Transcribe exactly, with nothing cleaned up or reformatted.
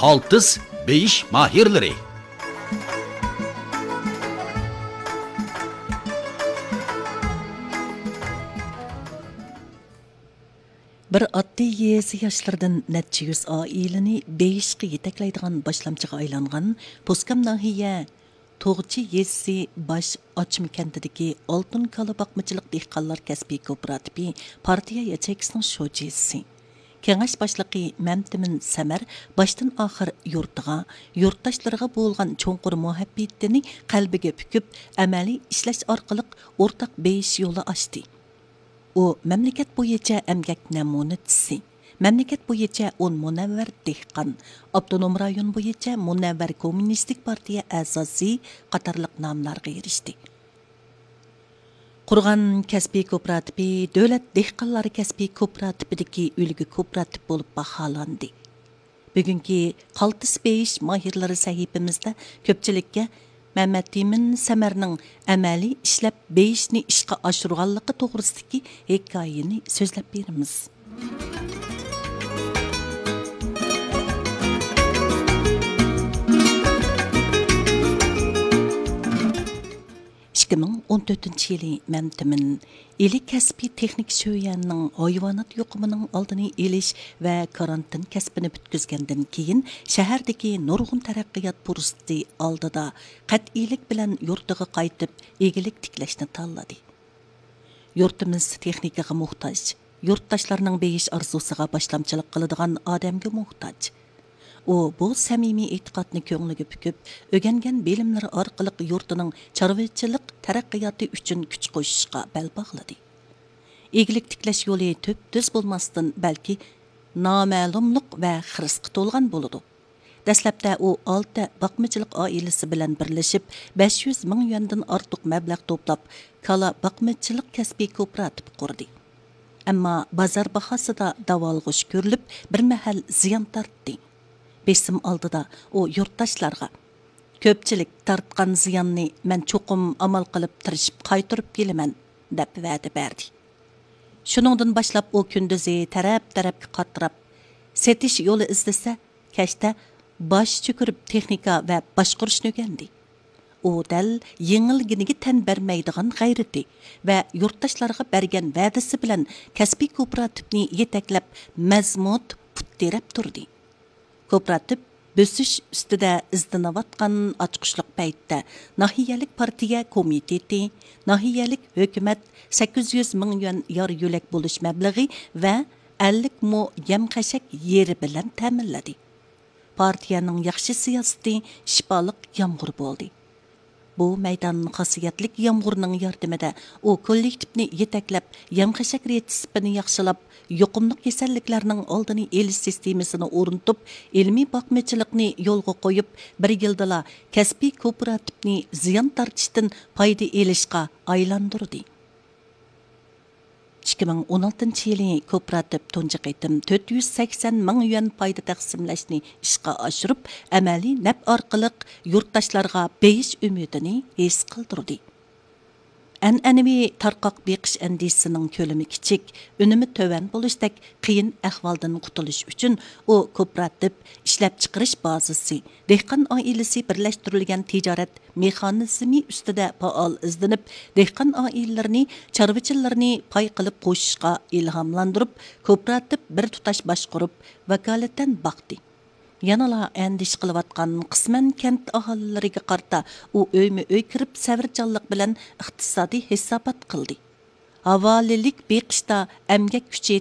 ئالتىس بېيىش ماھىرلىرى. بىر ئاددىي يېزا ياشلىرىدىن نەچچە يۈز ئائىلىنى بېيىشقا يېتەكلەيدىغان باشلامچىغا ئايلانغان پوسكام ناھىيە توغچى يېزىسى باش ئاچما كەنتىدىكى ئالتۇن كالا باقمىچىلىق دېھقانلار كەسپىي كوپىراتىپى پارتىيە ياچېيكىسىنىڭ شۇجىسى، كېڭەش باشلىقى مەمتىمىن سەمەر باشتىن ئاخىر يۇرتىغا، يۇرتداشلىرىغا بولغان چوڭقۇر مۇھەببىتىنى قەلبىگە پۈكۈپ، ئەمەلىي ئىشلەش ئارقىلىق ئورتاق بېيىش يولى ئاچتى. ئۇ مەملىكەت بويىچە ئەمگەك نەمۇنىچىسى، مەملىكەت بويىچە ئون مۇنەۋۋەر دېھقان، ئاپتونوم رايون بويىچە مۇنەۋۋەر كوممۇنىستىك پارتىيە ئەزاسى قاتارلىق ناملارغا ئېرىشتى. قۇرغان كەسپىي كوپىراتىپى دۆلەت دېھقانلار كەسپىي كوپىراتىپىدىكى ئۈلگە كوپىراتىپ بولۇپ باھالاندى. بۈگۈنكى قالتىس بېيىش ماھىرلىرى سەھىپىمىزدە كۆپچىلىككە مەمەتئىمىن سەمەرنىڭ ئەمەلىي ئىشلەپ بېيىشنى ئىشقا ئاشۇرغانلىقى توغرىسىدىكى ھېكايىنى سۆزلەپ بېرىمىز. ئىككى مىڭ ئون تۆتىنچى يىلى مەمتىمىن ئىلى كەسپىي تېخنىك شۆيەنىڭ ھايۋانات يۇقۇمىنىڭ ئالدىنى ئېلىش ۋە كارانتىن كەسپىنى پۈتكۈزگەندىن كېيىن، شەھەردىكى نۇرغۇن تەرەققىيات پۇرسىتى ئالدىدا قەتئىيلىك بىلەن يۇرتىغا قايتىپ، ئىگىلىك تىكلەشنى تاللىدى. يۇرتىمىز تېخنىكىغا موھتاج، يۇرتداشلارنىڭ بېيىش ئارزۇسىغا باشلامچىلىق قىلىدىغان ئادەمگە موھتاج. ئۇ بۇ سەمىمىي ئېتىقادنى كۆڭلىگە پۈكۈپ، ئۆگەنگەن بىلىملىرى ئارقىلىق يۇرتىنىڭ چارۋىچىلىق تەرەققىياتى ئۈچۈن كۈچ قوشۇشقا بەل باغلىدى. ئىگىلىك تىكلەش يولى تۈپتۈز بولماستىن، بەلكى نامەلۇملۇق ۋە خىرىسقا تولغان بولىدۇ. دەسلەپتە ئۇ ئالتە باقمىچىلىق ئائىلىسى بىلەن بىرلىشىپ، بەش يۈز مىڭ يۈەندىن ئارتۇق مەبلەغ توپلاپ، كالا باقمىچىلىق كەسپىي كوپىراتىپى قۇردى. ئەمما بازار باھاسىدا داۋالغۇش كۆرۈلۈپ، بىر مەھەل زىيان تارتتى. بېسىم ئالدىدا ئۇ يۇرتداشلارغا، «كۆپچىلىك تارتقان زىياننى مەن چوقۇم ئامال قىلىپ تىرىشىپ قايتۇرۇپ كېلىمەن» دەپ ۋەدە بەردى. شۇنىڭدىن باشلاپ ئۇ كۈندۈزى تەرەپ-تەرەپكە قاتراپ، سېتىش يولى ئىزدىسە، كەچتە باش چۆكۈرۈپ تېخنىكا ۋە باشقۇرۇشنى ئۆگەندى. ئۇ دەل يېڭىلگىنىگە تەن بەرمەيدىغان غەيرىتى ۋە يۇرتداشلارغا بەرگەن ۋەدىسى بىلەن كەسپىي كوپىراتىپنى يېتەكلەپ، مەزمۇت پۇت تىرەپ تۇردى. كوپىراتىپ بۆسۈش ئۈستىدە ئىزدىنىۋاتقان ئاچقۇچلۇق پەيتتە، ناھىيەلىك پارتىيە كومىتېتى، ناھىيەلىك ھۆكۈمەت سەككىز يۈز مىڭ يۈەن يار يۆلەك بولۇش مەبلىغى ۋە ئەللىك مو يەم خەشەك يېرى بىلەن تەمىنلىدى. پارتىيەنىڭ ياخشى سىياسىتى شىپالىق يامغۇر بولدى. بۇ مەيدان خاسىيەتلىك يامغۇرنىڭ ياردىمىدە ئۇ كوللېكتىپنى يېتەكلەپ، يەم خەشەك رېتسېپىنى ياخشىلاپ، يۇقۇملۇق كېسەللىكلەرنىڭ ئالدىنى ئېلىش سىستېمىسىنى ئورنىتىپ، ئىلمىي باقمىچىلىقنى يولغا قويۇپ، بىر يىلدىلا كەسپىي كوپىراتىپنى زىيان تارتىشتىن پايدا ئېلىشقا ئايلاندۇردى. ئىككى مىڭ ئون ئالتىنچى يىلى كوپىراتىپ تۇنجى قېتىم تۆت يۈز سەكسەن مىڭ يۈەن پايدا تەقسىملەشنى ئىشقا ئاشۇرۇپ، ئەمەلىي نەپ ئارقىلىق يۇرتداشلارغا بېيىش ئۈمىدىنى ھېس قىلدۇردى. ئەنئەنىۋى تارقاق بېقىش ئەندىزىسىنىڭ كۆلىمى كىچىك، ئۈنۈمى تۆۋەن بولۇشتەك قىيىن ئەھۋالدىن قۇتۇلۇش ئۈچۈن، ئۇ كوپىراتىپ، ئىشلەپچىقىرىش بازىسى، دېھقان ئائىلىسى بىرلەشتۈرۈلگەن تىجارەت مېخانىزمى ئۈستىدە پائال ئىزدىنىپ، دېھقان ئائىلىلىرىنى، چارۋىچىلىرىنى پاي قىلىپ قوشۇشقا ئىلھاملاندۇرۇپ، كوپىراتىپ بىر تۇتاش باشقۇرۇپ، ۋاكالىتەن باقتى. يەنىلا ئەندىشە قىلىۋاتقان قىسمەن كەنت ئاھالىلىرىگە قارىتا ئۇ ئۆيمۇ ئۆي كىرىپ، سەۋرچانلىق بىلەن ئىقتىسادىي ھېسابات قىلدى. ھاۋالىلىك بېقىشتا ئەمگەك كۈچى